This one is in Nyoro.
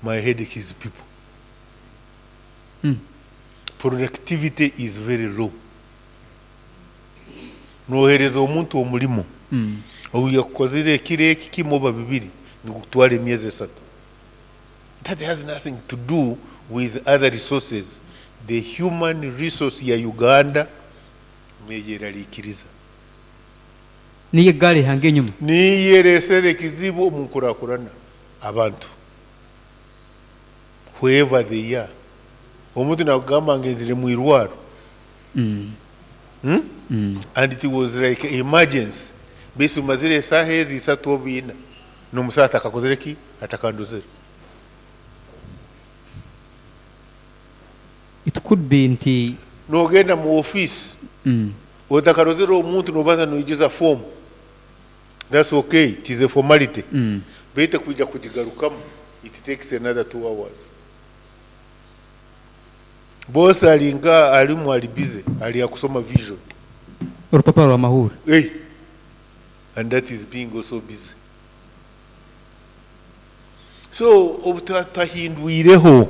My headache is people. Productivity is very low. Nohereza omuntu omurimo, obu yakukozire ekiro eki kimu oba bibiri, nigukutwara emyezi 3. That has nothing to do with other resources. The human resource ya Uganda neyerarikiriza. Niyo egaari ehanga enyuma. Niyo eresere ekizibu omu nkurakurana. Abantu whoever they are. Omuntu nakugamba ngenzire mwirwaro and it was like emergency baitu mazire esaaha ezi isatu oba ina nomusaho atakakozire ki? Atakandozere. It could be nti. Nogenda mu office otakarozere omuntu nobanza noijuza form that's okay it is a formality baitu kwija kugigarukamu it takes another 2 hours. Boss ali nka alimu ali busy ali akusoma Vision. Orupapura rwa mahurre. Hey. And that is being also busy. So obu twahindwireho.